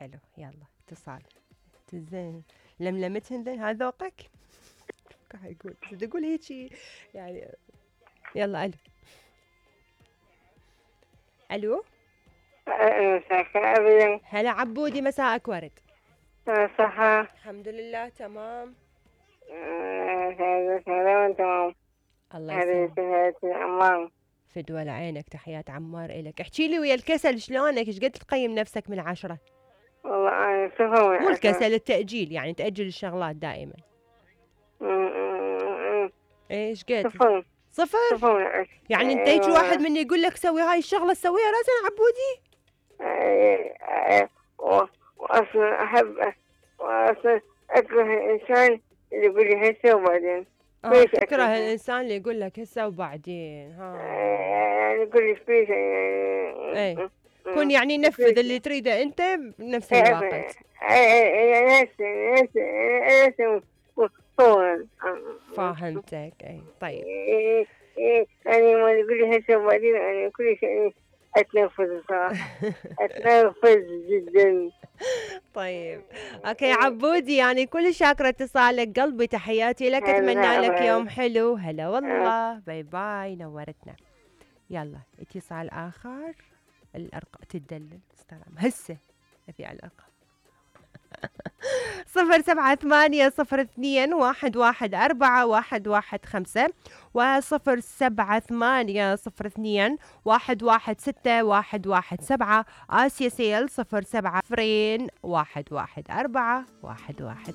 حلو. يلا اتصال زين لملمتهن ذن هذا ذوقك. قاعد يقول بدي اقول هيجي يعني. يلا الو. الو هلا عبودي، مساءك ورد. صحة الحمد لله تمام. تمام. الله يسلمك. عمار فدوى لعينك، تحيات عمار إلك. احكي لي ويا الكسل شلونك؟ ايش قد تقيم نفسك من 10؟ والله أنا صفر. مو الكسل، التأجيل، يعني تأجل الشغلات دائما. ايش قد؟ صفر. يعني انت هيك واحد من يقول لك سوي هاي الشغله تسويها راسا عبودي؟ واصلا احب واصلا اكره الانسان اللي يقول لي هسه وبعدين. تكره الانسان اللي يقول لك هسه وبعدين. ها يعني يقول لي فلوس اي كن يعني نفذ اللي تريده انت بنفس الوقت. فاهمتك. اي طيب. يعني ما يقول لي هسه وبعدين انا كل شيء اتنرفز صراحه. اتنرفز جدا. طيب اوكي عبودي، يعني كل شاكرة اتصالك قلبي، تحياتي لك، اتمنى لك يوم حلو. هلا والله، باي باي، نورتنا. يلا اتصال اخر. الارقام تدلل استلام هسه ابي على الارقام. 07802114115 و07802116117. آسيا سيل 07 214 115.